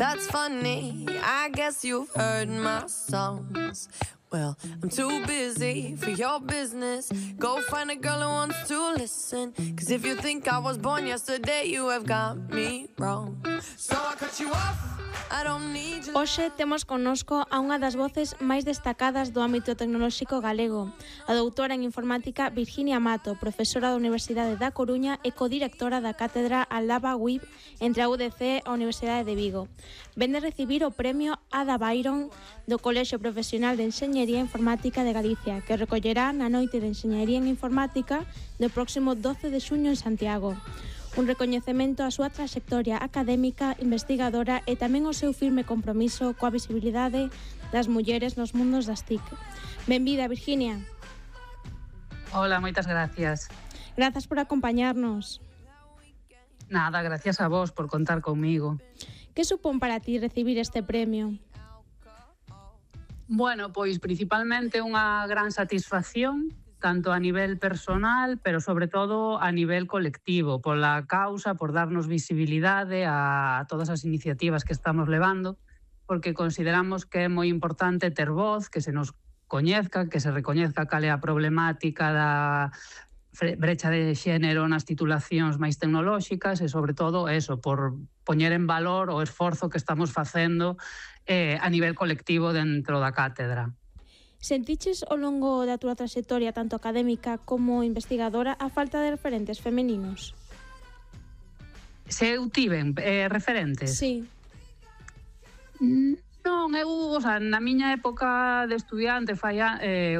That's funny, I guess you've heard my songs. Well, I'm too busy for your business. Go find a girl who wants to listen. Cause if you think I was born yesterday, you have got me wrong. So I cut you off. Hoxe temos connosco a unha das voces máis destacadas do ámbito tecnolóxico galego, a doutora en informática Virginia Mato, profesora da Universidade da Coruña e codirectora da cátedra Alaba WIB entre a UDC e a Universidade de Vigo. Vende recibir o premio Ada Byron do Colexio Profesional de Enxeñería Informática de Galicia, que recollerá na Noite de Enxeñería en Informática do próximo 12 de xuño en Santiago. Un recoñecemento á súa traxectoria académica, investigadora e tamén o seu firme compromiso coa visibilidade das mulleres nos mundos das TIC. Benvida, Virginia. Hola, moitas gracias. Grazas por acompañarnos. Nada, gracias a vos por contar comigo. Que supón para ti recibir este premio? Bueno, pois principalmente unha gran satisfacción, tanto a nivel personal, pero sobre todo a nivel colectivo, pola causa, por darnos visibilidade a todas as iniciativas que estamos levando, porque consideramos que é moi importante ter voz, que se nos coñezca, que se recoñezca cal é a problemática da brecha de xénero nas titulacións máis tecnolóxicas e, sobre todo, eso, por poñer en valor o esforzo que estamos facendo a nivel colectivo dentro da cátedra. Sentiches ao longo da túa traxectoria, tanto académica como investigadora, a falta de referentes femeninos? Se eu tiven referentes? Sí. Non, na miña época de estudiante, fai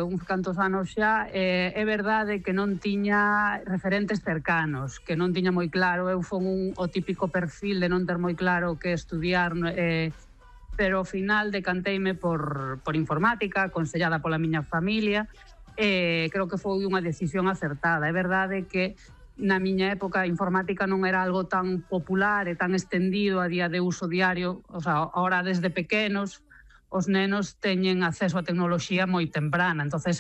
uns cantos anos xa, é verdade que non tiña referentes cercanos, que non tiña moi claro, eu fon o típico perfil de non ter moi claro que estudiar, pero ao final decanteime por informática, aconsellada pola miña familia, creo que foi unha decisión acertada. É verdade que na miña época a informática non era algo tan popular e tan estendido a día de uso diario, o sea, ahora desde pequenos os nenos teñen acceso á tecnoloxía moi temprana, entonces